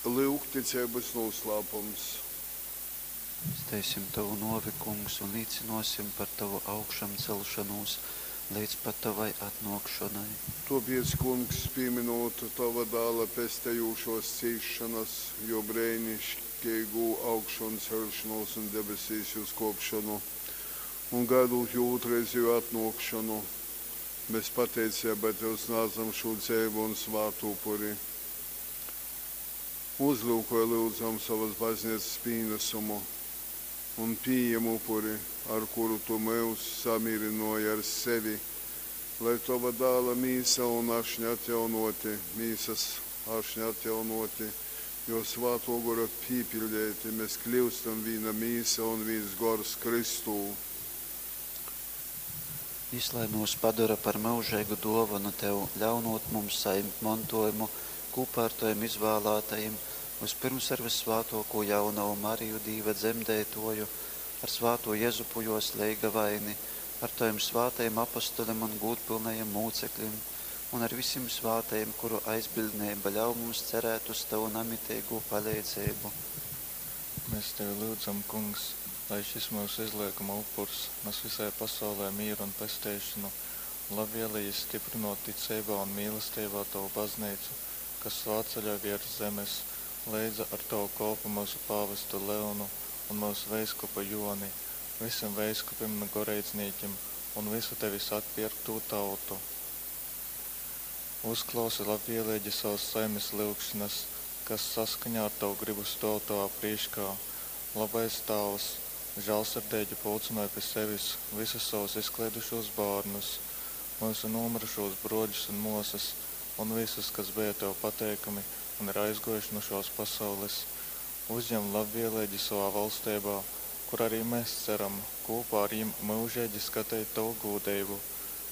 Lyuk ticeibys nūslāpums. Steisim tovu nōvi, Kungs, un līcynōsim par tovu augšamceļšonūs leidz pat tovai atnōkšonai. Tōpiec, Kungs, pīmynūt tova Dāla pestejūšōs cīsšonas, jō breiniškeigū augšonceļšonūs un debesīs uzkōpšonu, un gaidūt jō ūtrreizejū atnōkšonu, mes pateiceibā tev snādzam šū dzeivu un svātu upuri. Uzlyukoj, lyudzam, sovas bazneicas pīnasumu un pījem upuri, ar kuru tu myus samīrynōji ar sevi, lai tova Dāla mīsa un ašņa atjaunōti, mīsas ašņa atjaunōti, jō Svātō Gora pīpiļdeiti, mes kļyustam vīna mīsa un vīns gors Kristū. Jys lai myus padora par myužeigu dōvonu tev, ļaunūt mums sajimt montōjumu kūpā ar tovim izvālātajim, vyspyrms ar vyssvātōkū jaunovu Mariju, Dīva dzemdeitōju, ar svātū Jezupu jōs leigavaini, ar tovim svātajim apostolim un gūdpylnajim mūceklim un ar visim svātajim, kuru aizbiļdneiba ļauj mums cerēt uz tovu namiteigū paleidzeibu. Mēs tevi lyudzam, Kungs, lai šis myusu izliekuma upurs nas visai pasaulē mīru un pesteišonu, un labvēlīgi styprynot ticeibā un mīlesteibā tovu bazneicu, kas svātceļoj viers zemes, leidza ar tovu kolpu myusu pāvestu Leonu un myusu veiskupu Joni, visim veiskupim un goreidznīkim un visu tevis atpierktū tautu. Uzklausi labvēlīgi savas saimes lyugšanas, kas saskaņā ar tavu gribu stōv tovā prīškā. Labais Tāvs, žālsirdeigi pulcynoj pi sevis visus savus izkleidušūs bārnus, myusu nūmyrušūs brōļus un mōsas un visus, kas beja tev pateikami un ir aizgōjuši nu šōs pasaules. Uzjem labvēlīgi savā valsteibā, kur arī mēs ceram kūpā ar jim myužeigi skateit tovu gūdeibu.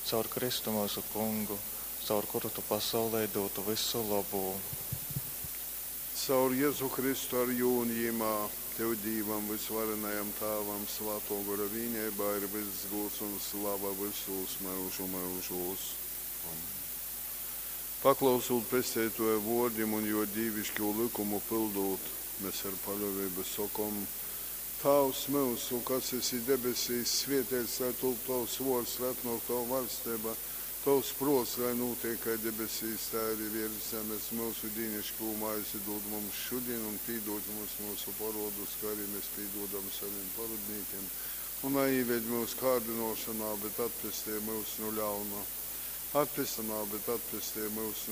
Caur Kristu myusu Kungu, caur kuru tu pasaulei dūtu vysu lobū. Caur Jezu Kristu ar jū un jymā, tev Dīvam vysvarenajam Tāvam Svātō Gora vīneibā ir vyss gūds un slava vysūs myužu myužūs. Amen. Paklausūt Pesteitōja vōrdim un jō dīviškū lykumu pyldūt, mes ar paļōveibu sokom, Tāvs myusu, kas esi debesīs, svēteits lai tūp tovs vōrds, lai atnōk tova vaļsteiba, tovs prōts lai nūteik kai debesīs, tai arī viers zemes. Myusu dīniškū maizi dūd mums šudin un pīdūd mums myusu porōdus, kai arī mēs pīdūdam savim porōdnīkim. Un naīved myus kārdynōšonā, bet atpestej myus nu ļauna. Atpestej, bet atpestej myus nu.